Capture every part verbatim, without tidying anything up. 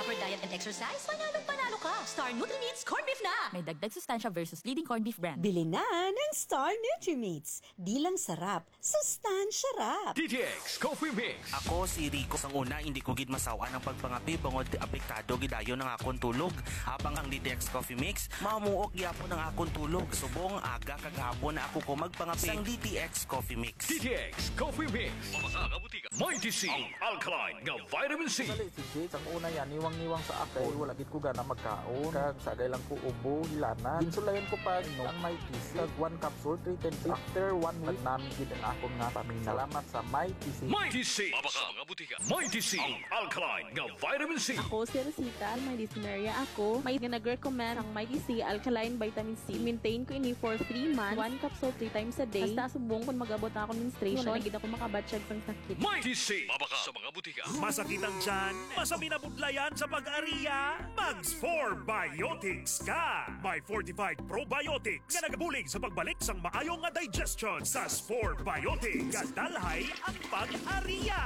Proper diet and exercise? Panalo, panalo ka! Star Nutrimits Corned Beef na! May dagdag sustansya versus leading corned beef brand. Bili na ng Star Nutrimits. Di lang sarap, sustansya rap. D T X Coffee Mix. Ako si Rico. Sang una, hindi ko gid masaw-an ang pagpangape bangod apektado gidayon ang akon tulog. Habang ang D T X Coffee Mix, mamuok gyapon ang akon tulog. Subong aga kag hapon na ako ko magpangape. Sang D T X Coffee Mix. D T X Coffee Mix. Mga kabutika. Mighty C, ang alkaline nga vitamin C. Sali si Jade, ang una yan, niwang-niwang sa akon. Wala gid ko gana magkaon. Kag sagay lang ko ubo, hilana. Ginsulayan ko pa, no, ang Mighty C. Kag one capsule, three times. After one week, nami gid ang akon nga pamina. Salamat sa Mighty C. Mighty C. Mabaka mga butika. Mighty C, ang alkaline nga vitamin C. Ako si Rosita, may dysmenorrhea ako. May nga nag-recommend ang Mighty C alkaline vitamin C. Maintain ko ini for three months. One capsule three times a day. Hasta subong kung mag-abot na akong menstruation, wala na gid ako makabatsyag sang sakit. Mighty C, mabaka sa mga butika. Masakit ang tiyan? Masami na budlayan sa pag-ariya? Mag Spore Biotics ka! May fortified probiotics nga nagabulig sa pagbalik sang maayo nga digestion. Sa Spore Biotics, kadalhay ang pag-ariya.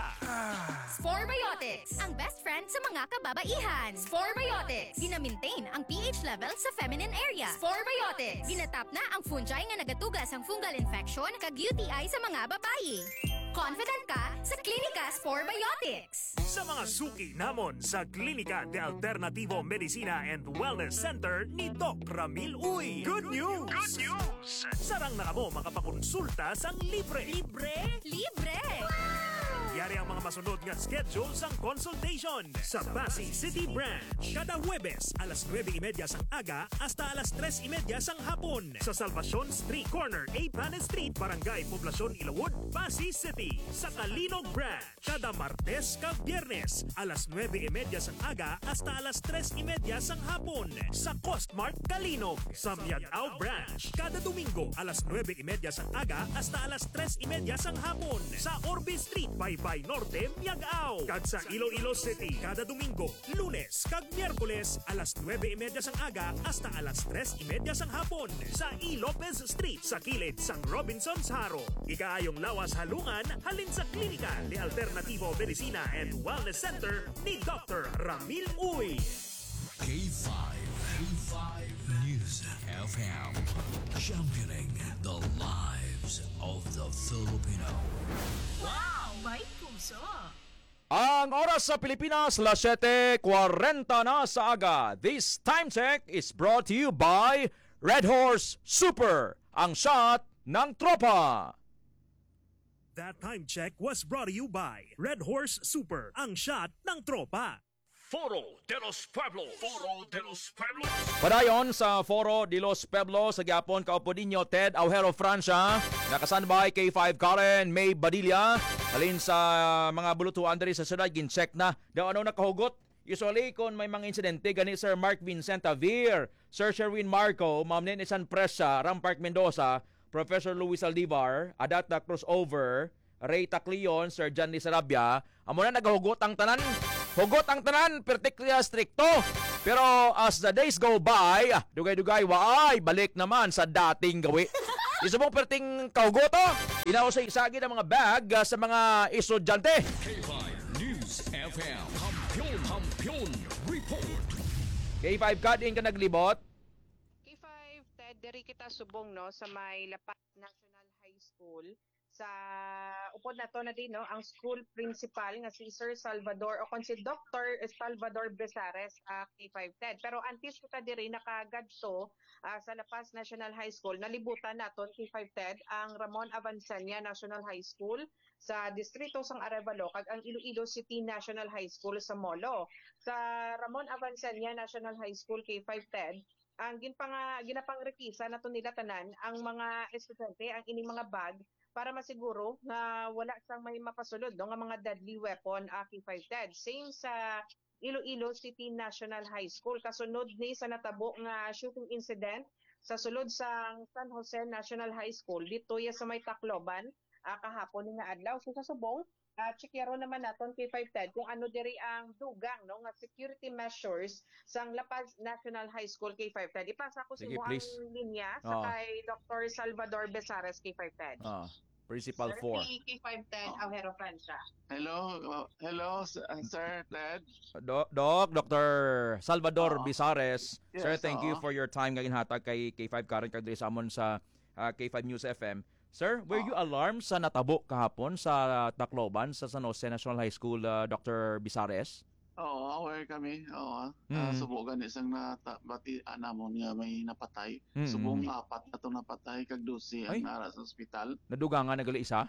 Spore Biotics, ang best friend sa mga kababaihan. Spore Biotics, gina-maintain ang P H level sa feminine area. Spore Biotics, ginatap na ang fungi nga nagatuga sang fungal infection kag U T I sa mga babayi. Confident ka sa Klinika Spore Biotics. Sa mga suki namon sa Klinika de Alternativo Medicina and Wellness Center ni Doc Ramil Uy. Good news! Good news! Sarang na kamo makapakonsulta sang libre. Libre? Libre! Yari ang mga masunod nga schedule sang consultation. Sa Passi City Branch, kada Huwebes alas nuebe y media sang aga hasta alas tres y media sang hapon. Sa Salvacion Street, corner Eighth Planet Street, Barangay Poblacion, Ilawod, Passi City. Sa Calinog Branch, kada Martes kag Biyernes, alas nuebe y media sang aga hasta alas tres y media sang hapon. Sa Costmart Calinog, sa Miag-ao Branch, kada Domingo, alas nuebe y media sang aga hasta alas tres y media sang hapon. Sa Orbe Street, Baybay Norte, Miag-ao. Kag sa Iloilo City, kada Domingo, Lunes kag Miyerkules, alas nuebe y media sang aga hasta alas tres y media sang hapon, sa E. Lopez Street, sa kilid sang Robinsons Jaro. Ikaayong lawas halungan halin sa Klinika de Alternativo Medicina and Wellness Center ni Doctor Ramil Uy. K five, K five News F M, championing the lives of the Filipino. Wow! May puso! Ang oras sa Pilipinas, las siyete kwarenta na sa aga. This time check is brought to you by Red Horse Super, ang shot ng tropa. That time check was brought to you by Red Horse Super, ang shot ng tropa. Foro de los Pueblos. Foro de los Pueblos. Padayon sa Foro de los Pueblos, sa gihapon, kaupod ninyo, Ted Aujero Francia. Naka-standby, K five Karen, May Badilla. Halin sa mga bulutuan diri sa syudad, gin-check na daw ano nakahugot. Usually, kung may mga insidente, gani Sir Mark Vincent Javier, Sir Sherwin Marco, Ma'am Nene San Presa, Ram Park Mendoza, Professor Luis Aldivar, Adat na Crossover, Ray Tacleon, Sir John Sarabia, amo na nagahugot ang tanan. Hugot ang tanan, pertik niya strikto. Pero as the days go by, ah, dugay-dugay, waay, balik naman sa dating gawi. Isa mong perting kahugot, oh. Inausay isagid ang mga bag, ah, sa mga estudyante. K five News F M, Kampiyon, Kampiyon Report. K five, kadin ka naglibot? K five, Ted, diri kita subong, no, sa may La Paz National High School. Sa upod nato na din, no, ang school principal nga si Sir Salvador o kon si Doctor Salvador Besares, ah, K five, Ted. Pero antes kita diri nakagadto, ah, sa La Paz National High School, nalibutan naton, K five, Ted, ang Ramon Avancenia National High School sa distrito sang Arevalo kag ang Iloilo City National High School sa Molo. Sa Ramon Avancenia National High School, K five, Ted, ang ginpanga-, ginapangrikisa nato nila tanan, ang mga estudyante, ang ining mga bag, para masiguro nga wala sang may mapasulod, no, nga mga deadly weapon, ah, K five, Ted. Same sa Iloilo City National High School. Kasunod ni sa natabo nga shooting incident sa sulod sang San Jose National High School, dito ya sa may Tacloban, ah, kahapon ni nga adlaw. So, sa subong, ah, checkeron naman naton, K five, Ted, kung ano diri ang dugang, no, nga security measures sang La Paz National High School, K five, Ted. Ipasa ko sa Sige, imo ang please. Linya sa Ah. kay Doctor Salvador Besares, K five, Ted. Ah. Principal four. K five ten, Aujero, Francia. Hello, uh, hello, s- uh, Sir Ted. Do- Doc, Doctor Salvador Oo. Bizares. Sir, Yes, thank you oo. for your time nga ginhatag kay K five Karen kag diri sa amon sa ah, K five News F M. Sir, were you Oo. alarmed sa natabo kahapon sa Tacloban sa San Jose National High School, ah, Doctor Bizares? Oo, aware kami. Oo. Ah, Mm. Subo gani sang nata bati namon nga may napatay. Mm. Subong apat na to napatay kag dose ang Ay. nara sa ospital. Nadugangan na gali isa?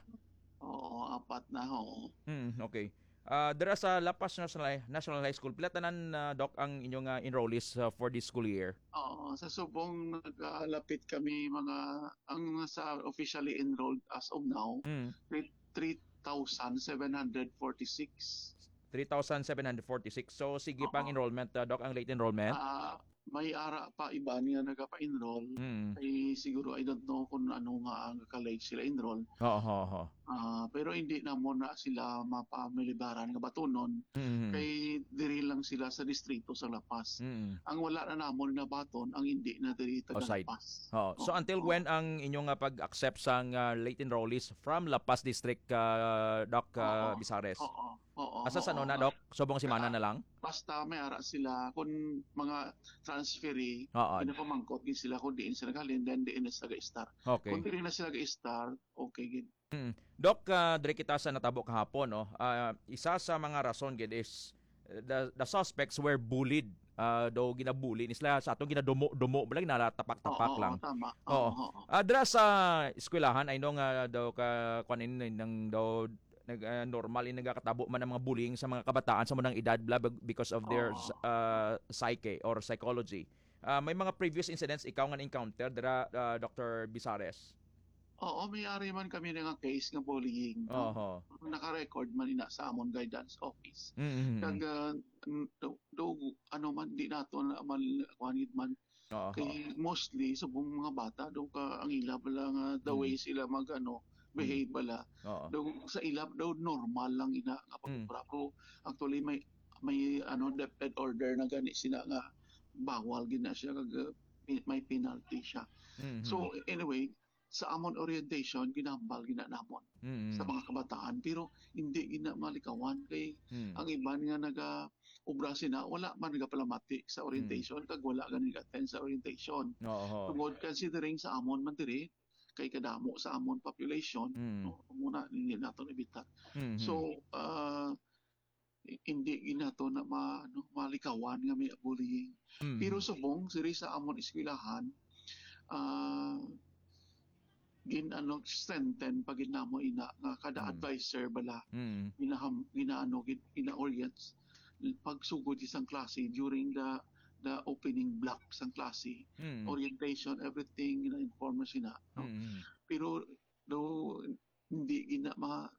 Oo, apat na, oo. Hmm, okay. Ah, dira sa La Paz National, National High School, pila tanan, ah, Doc, ang inyong ah, enrollees ah, for this school year? Oo, sa Subong nagalapit kami mga ang sa officially enrolled as of now, Hmm. three- three thousand seven hundred forty-six. Three thousand seven hundred forty-six. So, sige pa ang Oo. enrollment, ah, Doc, ang late enrollment? Ah, may ara pa iban nga nagapa-enroll. Hmm. Ay siguro I don't know kung ano nga ang college sila enroll. Oo, oo, oo. Ah, pero hindi namon na sila mapamilibaran nga batonon Hmm. kay diri lang sila sa distrito sa La Paz. Hmm. Ang wala na namon nabaton ang hindi na diri taga Outside. La Paz. Oo. So, Oo. Until when ang inyong ah, pag-accept sa ah, late enrollees from La Paz District, ah, Doc ah, Oo. Bizares? Oo. Oo. Asa sa Oo. na, Doc? Subong semana na lang? Basta may ara sila kung mga transferee, Oo. pinapamangkot gid sila kung diin sila galing, then diin na sila ga-start. Okay. Kung diin na sila ga-start, okay gid. Mm. Doc, ah, diri kita sa natabo kahapon, no? Ah, isa sa mga rason gid is uh, the, the suspects were bullied. Ah, daw ginabuli ni sila sa atong ginadumo-dumo bala, ginatapak-tapak Oo, lang. Tama. Oo. Oo. Oo. Ah, dira sa eskwelahan, I know nga daw ka kuan ini nang daw nag ah, normal in nagakatabo man ang mga bullying sa mga kabataan sa munang edad bla bag- because of their Oo. uh, psyche or psychology. Ah, may mga previous incidents ikaw nga encounter dira, ah, Doctor Bizares? Oo, may ari man kami nga case nga bullying. No? Oho. Naka-record man ina sa amon guidance office. Mm. Kag ah, n- do, do, ano man, di nato na man kuanid man. Oo. Kay mostly subong mga bata do ka ang ila bala nga the Mm. way sila mag ano, behave bala. Oo. Do sa ila daw normal lang ina nga Mm. pag-obra. Pero actually may may ano, DepEd order na gani sila nga bawal gina siya kag uh, pi- may penalty siya. Mhm. So anyway, sa amon orientation ginambal gina namon Mhm. sa mga kabataan, pero hindi gina malikawan kay Mhm. ang iban nga naga obra sina wala man nagapalamati sa orientation kag wala gani attend sa orientation. Oo. Tungod considering sa amon man diri kay kadamo sa amon population, Mm. no, muna hindi nato nabitan. Mhm. So, ah, hindi ginato na ma, ano, malikawan nga may bullying. Mhm. Pero subong diri sa amon eskwelahan, ah, gin ano strengthen pa gid namo ina nga kada Mm. advisor bala Mhm. ginaham ginaano gid gina-orient pagsugod isang klase during the the opening block sang klase, Mhm. orientation, everything gina-inform na sina, no? Mhm. Pero do hindi gina ma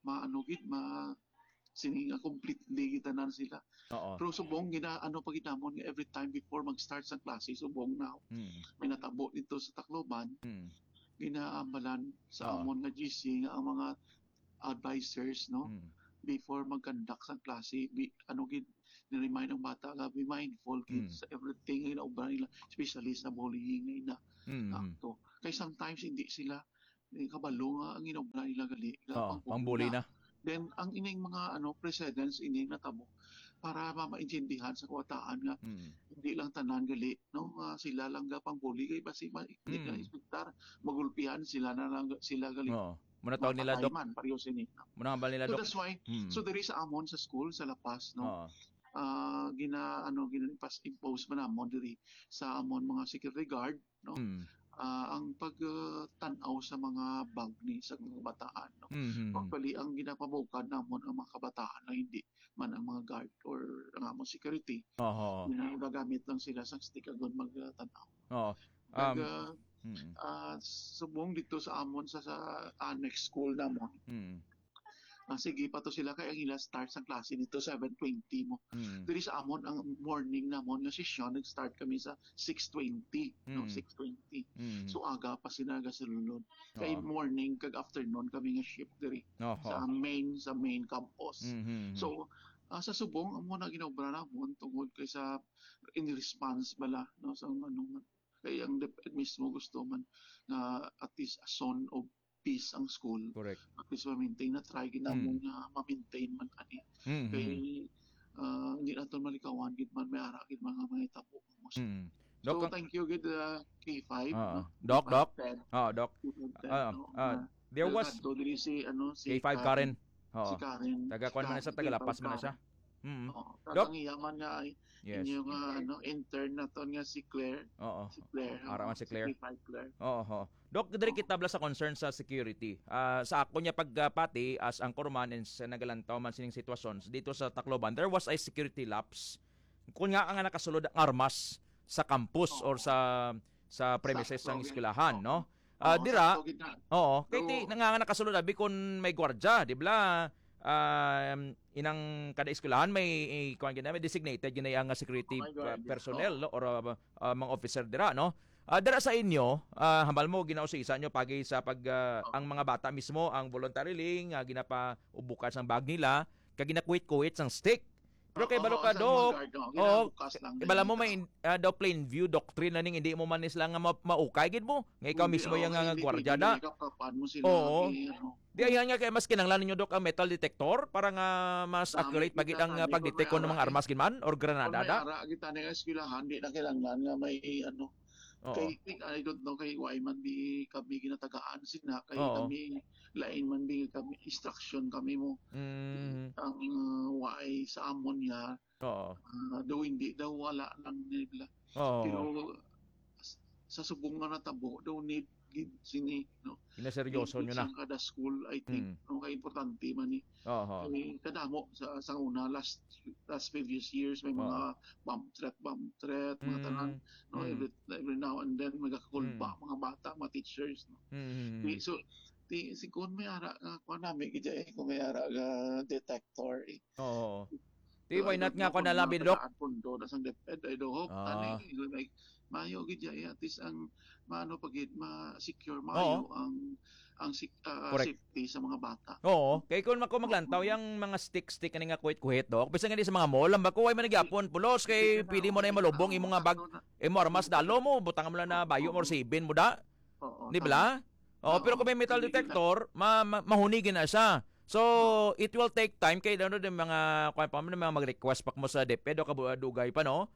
maano gid ma sini nga completely gid tanan sila. Oo. Pero subong gina ano pa gid namon nga every time before mag-start sa klase, subong na Mhm. may natabo dito sa Tacloban, Mhm. ginaambalan sa Oo. amon nga G C nga ang mga advisors, no, Mhm. before mag-conduct sa klase, bi, ano gid ni-remind ang bata nga be mindful gid Mm. sa everything nga ginaobra nila, especially sa bullying nga ina Mhm. akto. Kay sometimes hindi sila eh, kabalo nga ang ginaobra nila gali nga Oo, pang-bully pang-bully na. Then ang ining mga ano precedents ining natabo para ma maintindihan sa kabataan nga Mhm. hindi lang tanan gali, no, nga sila lang ga pang-bully kay basi ma hindi Mm. na inspektar magulpihan sila na lang sila gali. Oo. Muna tawag nila, Mapatay Doc. Man, pareho sini. Muna hambal nila, So Doc. that's why Mm. so diri sa amon sa school sa La Paz, no, Oo. ah gina ano gina-impose man namon diri sa amon mga security guard, no. Mm. Ah, ang pag ah, tan-aw sa mga bag ni sa mga kabataan, no. Mhm. Actually, ang ginapabukad namon ang mga kabataan na hindi man ang mga guard or ang among security. Oho. Ginagamit lang sila sa stick agon magtan-aw. Oo. Kag Um, ah, mm. ah, subong dito sa amon sa, sa annex school namon. Mm. Ah, sige pa to sila kay ang ila start sa klase nito seven twenty mo. Mm. Diri sa amon ang morning namon nga session nag-start kami sa six twenty, no, Mm. six twenty. Mm. So aga pa sila gasulod. Kay Oo. morning kag afternoon kami nga shift diri Oho. sa main sa main campus. Mhm. So ah, sa subong amo na ginaobra namon tungod kay sa in response bala, no, sa ano man kay ang DepEd mismo gusto man nga at least a zone of peace ang school. Correct. At least ma-maintain na, try gid namon nga ma-maintain man ani. Mhm. Kay, ah, hindi naton malikawan gid man, may ara gid man nga mga tabo. Mm. So, Doc, ang thank you gid, uh, K five, Ah, no? Doc, K five Doc. Ten. Ah, Doc. K five Ten, Ah, no? ah, Na there was nagkadto diri si, ano, si K five Karen. Karen. Oo. Si Karen. Taga Si kuwan man na siya, Karen, taga La Paz K five man na siya. Karen. Mm. Oo. Doc. Kag ang iya man nga, Yes. inyo nga, ano, intern naton nga si Claire. Oo. Si Claire, Ara oo. man si Si Claire. K five Claire. Oo, oo. Doc, diri Oo. kita bala sa concern sa security. Ah, sa ako niya pagpati as anchorman and sa nagalantaw man sining sitwasyon dito sa Tacloban, there was a security lapse. Kung nga nga nakasulod ang armas sa campus Oo. or sa sa premises Sakto, sang okay. eskwelahan, Oo. no? Ah, Oo, dira, sakto gid na. oo, kay ti, Pero nga, nga nakasulod abi kung may gwardya, di ba? Um, inang kada eskwelahan may, eh, kuwan gid na, may designated gid na ang security Oh my God, pa-, personnel, oh. no? Or, uh, uh, mga officer dira, no? Ah, dira sa inyo, ah, hambal mo, ginausisa nyo pagi sa pag, ah, Oh. ang mga bata mismo, ang voluntarily nga ginapaubukan sang bag nila, kag ginakuwit-kuwit sang stick. Pero kay Oo, balo ka, sa mga Doc, guard, oh, oo, ginabukas lang din bala mo nila. may, ah, daw plain view doctrine na ning hindi mo man sila nga ma-, maukay gid mo. Nga ikaw Hindi, mismo oh, yung, ah, hindi gwardiya pwede na. Nila kapapan mo sila, Oo. eh, ano. Di, ayan nga, kaya mas kinahanglan ninyo, Doc, ang metal detector para nga mas Dami accurate pa gid kita ang, ah, tani, pag-detect kung kung may mga ara, armas gid man or granada kung may da. Ara kita nga eskwelahan, di na kinahanglan nga may, ano, Oo. kay, I don't know, kay why man di kami ginatagaan sina, kay Oo. kami, lain man di kami, instruction kami mo. Mm. Ang, uh, why sa amon niya, Oo. ah, daw hindi, daw wala lang nila. Oo. Pero s-, sa subong nga natabo, daw need gid sini, no? Ginaseryoso Need nyo na. Sa kada school, I think, Mm. no, kay importante man ni. Oo. Kay kadamo sa, sa una, last, last previous years, may Oo. mga bomb threat, bomb threat, mga Mm. tanan, no? Mm. Every, every now and then, may kakulba, Mm. mga bata, mga teachers, no? Mm. Di, so, di, si, kung may ara nga, kung nami, gid eh, kung may ara nga detector, eh. Oo. Di, why not nga, kung nalabi, Doc? Pundo na sang DepEd, I do hope, Ah. ani, like, mayo gid ya, eh, at least ang, maano pa gid, ma-secure, mayo Oo. ang, ang sec-, ah, Correct. safety sa mga bata. Oo. Kay kung ako maglantaw, Oo. yang mga stick-stick, ani nga kuhit-kuhit, Doc, bisan nga di sa mga mall, ang bako, ay man nagyapon, pulos, kay Hindi na, pwede mo na hindi yung na, malubong, imo nga bag, sakto na. imo armas, dalo mo, butang mo lang na bayo mo, Oo. or sibin mo da. Oo, Di tama. ba? Oo, Tama. pero kung may metal Hindi na. detector, ma-, ma-, mahunigin na siya. So, Oo. it will take time kay ano din mga, kuwan pa man, mga mag-request pa mo sa DepEd o kabu-, dugay pa, no?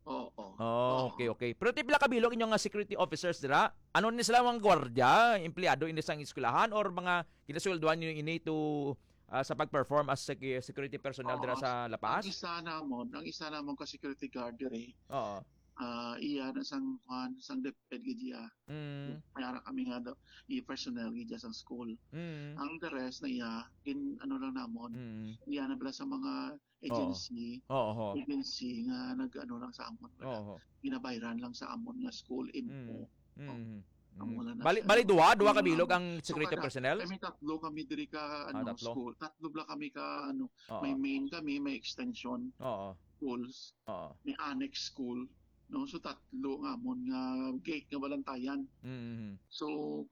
Oo. Oh, Oo. okay, okay. Pero ti pila ka bilog inyo nga security officers dira? Ano ni sila, mga gwardiya, empleyado ini sang eskwelahan or mga ginasweldohan niyo ini to, ah, sa pag-perform as sec-, security personnel dira Oo. sa La Paz? Ang isa namon, ang isa namon ka security guard diri. Oo. Ah, iya na sang, kuwan, sang DepEd gid iya. Mm. May ara kami nga daw, i-personnel gid iya sang school. Mm. Ang the rest na iya, gin-, ano lang namon, Mm. iya na pala sa mga Oo. agency, Oo, ho. agency nga nag-ano lang sa amon, Oo. ginabayran lang sa amon nga school info. Mm. Oh, Mm. ang Mm. wala na Bali, siya. bali, duha, duha ka Yun bilog lang. ang So, security kada, personnel? Kami tatlo kami diri ka, Ah, ano, tatlo. school. Tatlo bala kami ka, ano, Oo. may main kami, may extension Oo. schools, Oo. may annex school, no? So, tatlo nga amon nga gate nga balantayan. Mm. So,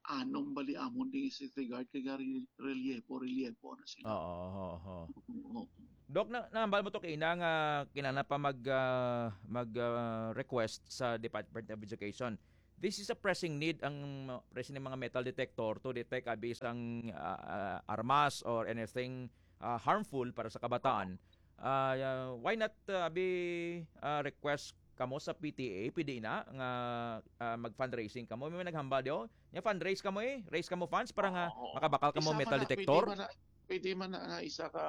anom bali amon ding security guard kay gari relievo, relievo na sila. Oo, oo, oo. Oo. Doc, na, nahambal mo to kaina nga kinana pa mag, ah, mag, ah, request sa Department of Education. This is a pressing need, ang, uh, pressing ng mga metal detector to detect abi sang, ah, ah, armas or anything, ah, harmful para sa kabataan. Ah, why not, ah, abi, ah, request kamo sa P T A, pwede na nga, ah, mag-fundraising kamo. May naghambal diyo? Nya fundraise kamo eh. Raise kamo funds para nga Oo, oo. makabakal kamo Isa metal man na, detector. Pwede man na, pwede man na nga isa ka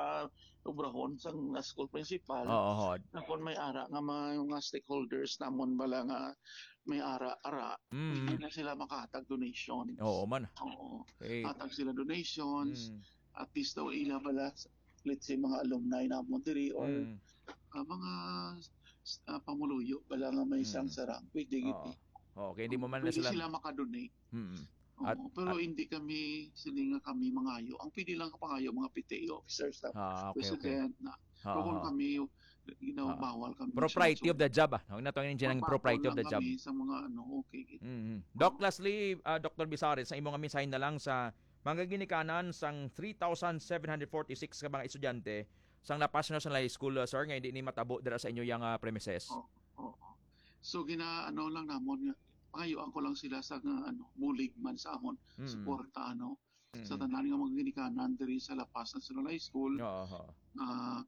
obrahon sang, ah, school principal. Oo, hod. Na kung may ara nga mga, mga stakeholders namon bala nga may ara-ara, Mm. pwede na sila makahatag donation. Oo man. Oo. Eh. Hatag sila donations. Mm. At least daw ila bala, let's say, mga alumni namon diri or, Mm. ah, mga, ah, pamuluyo bala nga may Mm. sang sarang. Pwede gid Oo. eh. Oo, kay hindi mo man na Pwede sila sila makadonate. Mm. Oo, At, pero at hindi kami, sila nga kami mangayo. Ang pwede lang kapangayo, mga P T A officers na, Ah, okay, okay. president na. Ah, Pero kung ah. kami, you know, Ah. bawal kami Propriety siya. of the job, ah. Huwag na to yung ginang Magpapon propriety of lang the job. kami sa mga ano, okay. Mm-hmm. Doc, Oo. lastly, ah, Doctor Bisares, sa imong mensahe na lang sa mga ginikanan sang three thousand seven hundred forty-six ka mga estudyante sang La Paz National High School, ah, sir, nga hindi ni matabo dira sa inyo yang, ah, premises. Oo, oo. So, gina-, ano lang namon nga, pangayuan ko lang sila sa nga, ano, bulig man sa amon, Mm. suporta, ano, sa Mm. tanan nga mga ginikanan diri sa La Paz National High School. Oo, oo. Ah,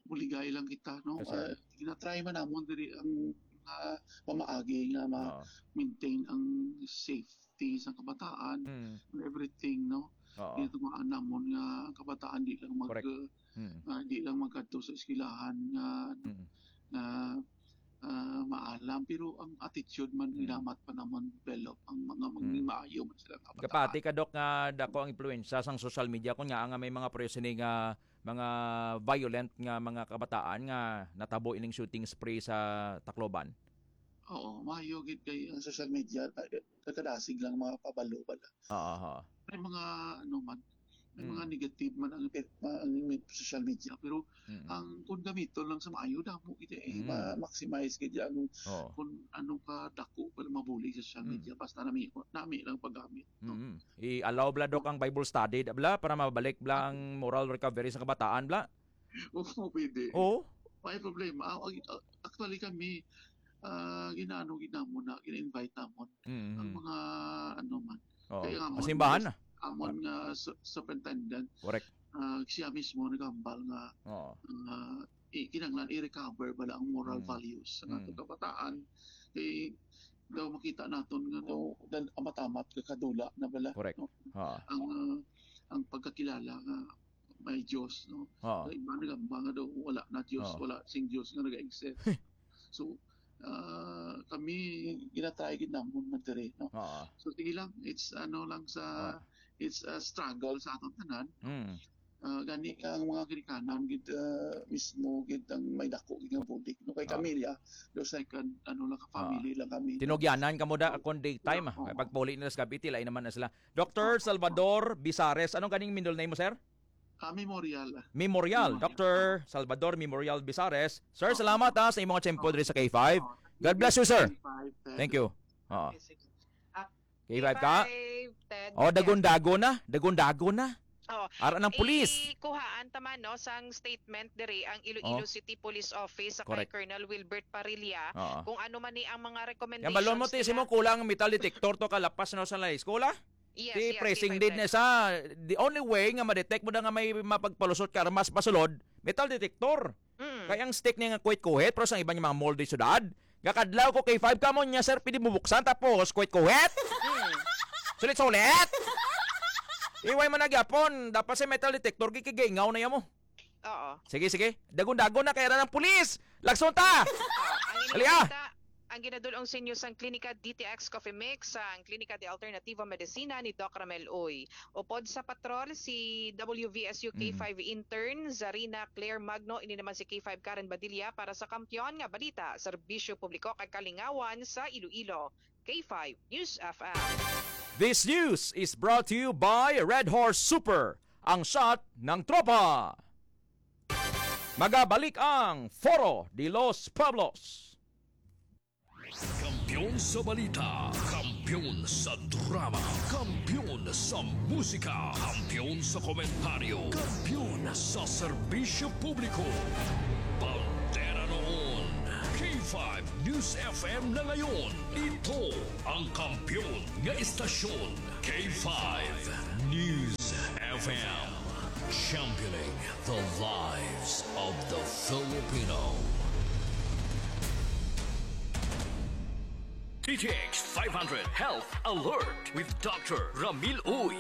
buligay lang kita, no? Yes, sir. Ah, ginatry man namon diri ang, ah, pamaagi nga Oo. ma-maintain ang safety sa kabataan Mm. and everything, no? Oo. Ginatumaan namon nga ang kabataan di lang mag-, Correct. Mm. ah, di lang magkadto sa eskwelahan nga, Mm. nga, ah, maalam, pero ang attitude man, Mm. ginamat pa namon develop ang mga Mm. maging maayo man sila nga kabataan. Kapati ka, Doc, nga dako ang impluwensya sang social media, kun nga, nga may mga pwede sini nga mga violent nga mga kabataan nga natabo ining shooting spree sa Tacloban? Oo, maayo gid kay ang social media, ah, nagkadasig lang mga pabalo bala. Oo, oo. May mga, ano man, may mga Mm. negative man ang, ang social media, pero Mm. ang kung gamiton lang sa maayo, damo gid, eh, Mm. ma-maximize gid ang Oo. kung ano ka dako pala mabulig sa social Mm. media, basta nami, nami lang paggamit, no? Mm. I-allow bala, Doc, ang Bible study, bala, para mabalik bala ang moral recovery sa kabataan, bala? Oo, pwede. Oo. May problema. Ah, actually, kami, ah, ginaano gid namon na, gina-invite namon Mm. ang mga, ano man. Oo. Kaya nga, Sa simbahan na. amon nga su-, superintendent, Correct. ah, siya mismo nagambal nga, Oo. ah, i-, kinahanglan i-recover bala ang moral Mm. values sa Mm. atong kabataan. Kay daw makita naton nga daw, dan-, amat-amat kakadula na bala, Correct. no? Ha. Ang, ah, ang pagkakilala nga may Diyos, no? Oo. Ang iba nagamba nga daw wala na Diyos, Oo. wala sing Diyos nga nag-exist. So, ah, kami ginatry gid namon man diri, no? Oo. So, sige lang, it's ano lang sa, Oo. it's a struggle sa aton tanan. Mm. Ah, gani ka ang mga ginikanan gid, ah, mismo gid ang may dako gid nga bulig, no? Kay Ah. kami, ah, the second, ano lang, ka Ah. family lang kami. Tinugyanan kamo da, kung daytime, ah. Oo. Kay pagpauli nila sa gabi, tilay naman na sila. Doctor Oo. Salvador Bizares, anong ganing middle name mo, sir? Ah, Memorial. Memorial, Memorial. Doctor Salvador Memorial Bizares. Sir, Oo. salamat, ha, sa imong tiyempo Oo. diri sa K five. Oo. God bless you, sir. K five, Ted. Thank you. Oo. Okay, sige. Ah, K five ka? K five, Ted. Oh, Yes. dagon-dagon na. Dagon-dagon na. Oh, Ara ng pulis. Ikuhaan ta man, no, sang statement diri ang Iloilo Oh. City Police Office sa kay Correct. Colonel Wilbert Parilla Oo. kung ano man ni ang mga Yan, balon mo, recommendations ti, si nila. mo kulang ang metal detector to kalapas na sa La Eskwela? Yes, Ti yes, pressing K five need na Ted. sa, the only way nga ma-detect mo na nga may mapagpalusot ka, mas pasulod, metal detector. Mm. Kay ang stick niya nga kuhit-kuhit, pero sa iban nga mga mall di syudad, gakadlaw ko K five kamo niya, sir, pwede mo buksan, tapos kuhit-kuhit. Mm. Sulit-sulit. Iway man na gyapon, dapat sa metal detector, gikigaingaw na yamo. Oo. Sige, sige. Dagon-dagon na, kay ara ng pulis. Lagson ta! Ah, ang Dali, ah! inyong balita, ang ginadul-ong sa inyo sang Klinika D T X Coffee Mix, sang Klinika de Alternativa Medicina ni Doc Ramel Uy. Upod sa patrol, si W V S U Mm. K five intern Zarina Claire Magno, ini naman si K five Karen Badilla para sa Kampiyon nga Balita, Serbisyo Publiko kag Kalingawan sa Iloilo, K five News F M. This news is brought to you by Red Horse Super, ang shot ng tropa. Magabalik ang Foro de los Pueblos. Kampiyon sa balita, kampiyon sa drama, kampiyon sa musika, kampiyon sa komentaryo, kampiyon sa serbisyo publiko. Bandera noon, K five News F M na ngayon. Ito ang kampiyon nga istasyon, K five News F M. Championing the lives of the Filipino. D T X five hundred Health Alert with Doctor Ramil Uy.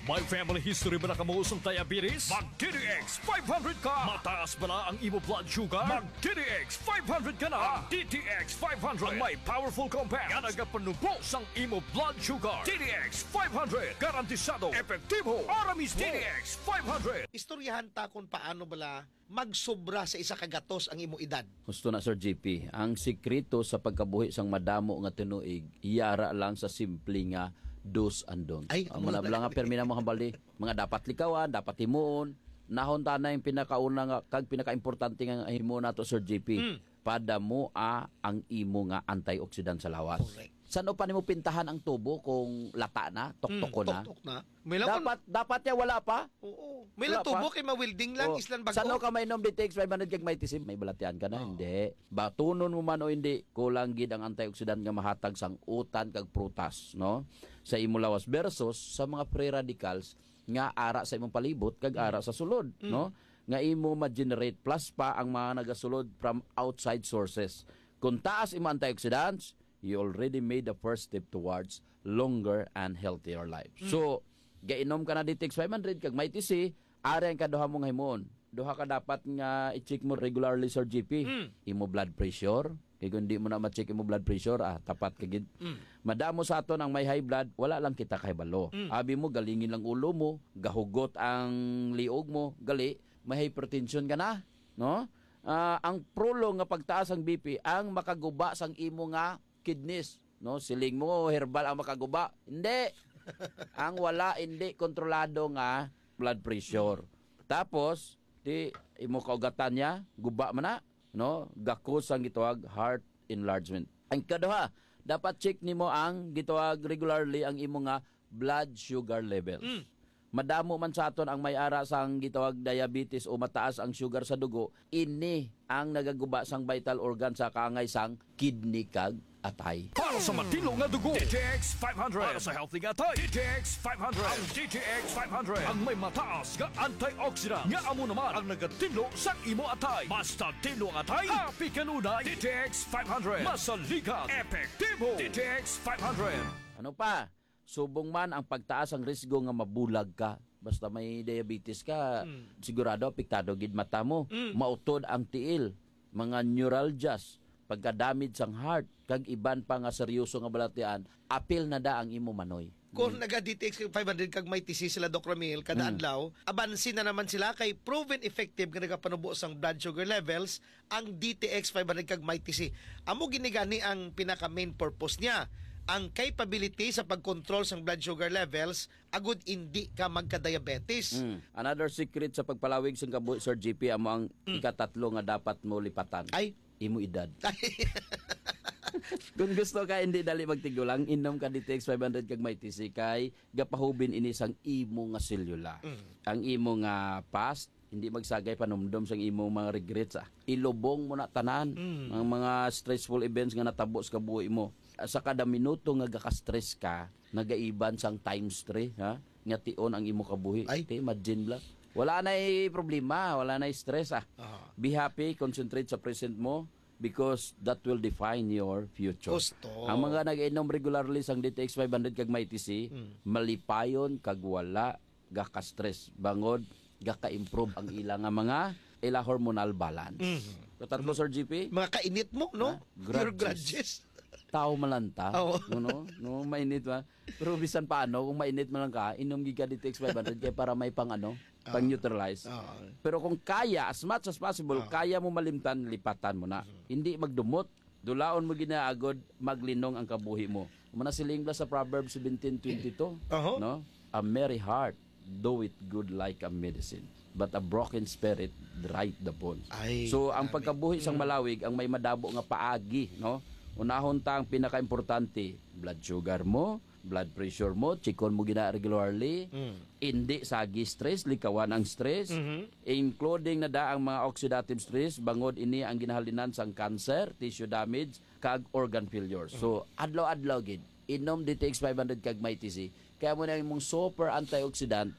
May family history ba na kamo sang diabetes? Mag D T X five hundred ka! Mataas ba na ang imo blood sugar? Mag D T X five hundred ka na! Ang D T X five hundred ang may powerful compound nga nagapanubo sang imo blood sugar. D T X five hundred, garantisado, epektibo, ara mismo. D T X five hundred. Istoryahan ta kung paano bala magsobra sa isa ka gatos ang imo edad. Husto na, Sir J P. Ang sikreto sa pagkabuhi sang madamo nga tinuig, yara lang sa simple nga do's and don't. Ay, Ang amo na mga bala nga talaga. Pirmi na mo hambal di, mga dapat likawan, dapat himuon, nahon ta na yung pinakauna nga, kag pinakaimportante nga himuon nato, Sir J P. Mm. Padamua ang imo nga antioxidant sa lawas. Correct. San-o pa nimo pintahan ang tubo kung lata na, tuktok Mm, ko na? tuktok na. May lang Dapat, dapat niya wala pa. Oo. May Wala lang tubo pa. kay ma-welding lang, Oh, islan bago. San-o ka mainom D T X five hundred kag Mighty C? May balatian ka na? Oo. Hindi. Batunon mo man o hindi, kulang gid ang antioxidant nga mahatag sang utan kag prutas, no? Sa imo lawas versus sa mga free radicals nga ara sa imong palibot kag Mm. ara sa sulod, Mm. no? Nga imo ma-generate plus pa ang mga nagasulod from outside sources. Kung taas imo antioxidants, you already made the first step towards longer and healthier life. Mm. So, gainom ka na D T X five hundred kag Mighty C, ari ang kaduha mo nga himuon. Duha ka dapat nga i-check mo regularly, Sir G P. Mm. Imo blood pressure. Kay kung di mo na ma-check imo blood pressure, ah, tapat ka gid. Mm. Madamo sa aton ang may high blood, wala lang kita kahibalo. Mm. Abi mo, galingin lang ulo mo, gahugot ang liog mo, gali, may hypertension ka na, no? Ah, ang prolong nga pagtaas ang B P ang makaguba sang imo nga kidneys, no? Siling mo, herbal ang makaguba. Hindi. Ang wala, hindi kontrolado nga blood pressure. Tapos, di imo kaugatan niya, guba man na, no? Gakos ang gitawag heart enlargement. Ang kaduha, dapat check nimo ang gitawag regularly ang imo nga blood sugar levels. Mm. Madamo man sa aton ang may ara sang gitawag diabetes o mataas ang sugar sa dugo, ini ang nagaguba sang vital organ sa kaangay sang kidney kag atay. Para sa matinlo nga dugo, D T X five hundred. Para sa healthy nga atay, D T X five hundred. Ang D T X five hundred ang may mataas nga antioxidant nga amo naman ang nagatinlo sang imo atay. Basta tinlo ang atay, happy kanunay. D T X five hundred. Masaligan, epektibo. D T X five hundred. Ano pa? Subong man ang pagtaas ang risgo nga mabulag ka. Basta may diabetes ka, Mm. sigurado apektado gid mata mo. Mm. Mautod ang tiil, mga neuralgias, pagka-damage sang heart, kag iban pa nga seryoso nga balatian, apil na da ang imo manoy. Kung Mm. naga-D T X five hundred kag Mighty C sila, Doc Ramil, kada Mm. adlaw, abansi na naman sila kay proven effective nga nagapanubo sang blood sugar levels ang D T X five hundred kag Mighty C. Amo gini gani ang pinaka main purpose niya, ang capability sa pag-control sang blood sugar levels agud indi ka magka-diabetes. Mm. Another secret sa pagpalawig sang kabuhi, Sir G P, amo ang Mm. ikatatlo nga dapat mo lipatan. Ay. Imo edad. Kung gusto ka hindi dali magtigulang, inom ka D T X five hundred kag Mighty C kay gapahubin ini sang imo nga selula. Mm. Ang imo nga past, hindi magsagay panumdom sang imo mga regrets, ah. Ilubong mo na tanan Mm. ang mga stressful events nga natabo sa kabuhi mo. Sa kada minuto nga gaka-stress ka, nagaiban sang times three, ha? Nga tion ang imo kabuhi. Ay. Te, imagine, Black. Wala na'y problema, wala na'y stress, ah. Aha. Be happy, concentrate sa present mo, because that will define your future. Gusto. Ang mga nag-inom regularly sang D T X five hundred kag Mighty C, Mm. malipayon kag wala gaka-stress, bangod gaka-improve ang ila nga mga, ila hormonal balance. Mhm. Katatlo, Sir G P? Mga kainit mo, no? Ha? Your Grudges. grudges. Tao malanta. Oo. No, no? No, mainit ba? Pero bisan paano, kung mainit man lang ka, inom gid ka D T X five hundred kay para may pang ano, Ah. pang neutralize. Ah. Pero kung kaya, as much as possible, Ah. kaya mo malimtan, lipatan mo na. Mhm. Hindi magdumot. Dulaon mo ginaagod, maglinong ang kabuhi mo. Muna siling bala sa Proverbs seventeen twenty-two, Aho. no? "A merry heart doeth good like a medicine, but a broken spirit dryeth the bones." Ay, So, ang grabe. pagkabuhi sang Mm. malawig ang may madabo nga paagi, no? Unahon ta ang pinakaimportante, blood sugar mo, blood pressure mo, chikon mo gina regularly, Mm. indi sagi stress, likawan ang stress, Mhm. including na da ang mga oxidative stress, bangod ini ang ginahalinan sang cancer, tissue damage, kag organ failure. So, Mm. adlaw-adlaw gid, inom D T X five hundred kag Mighty C. Kaya mo na imong super antioxidant,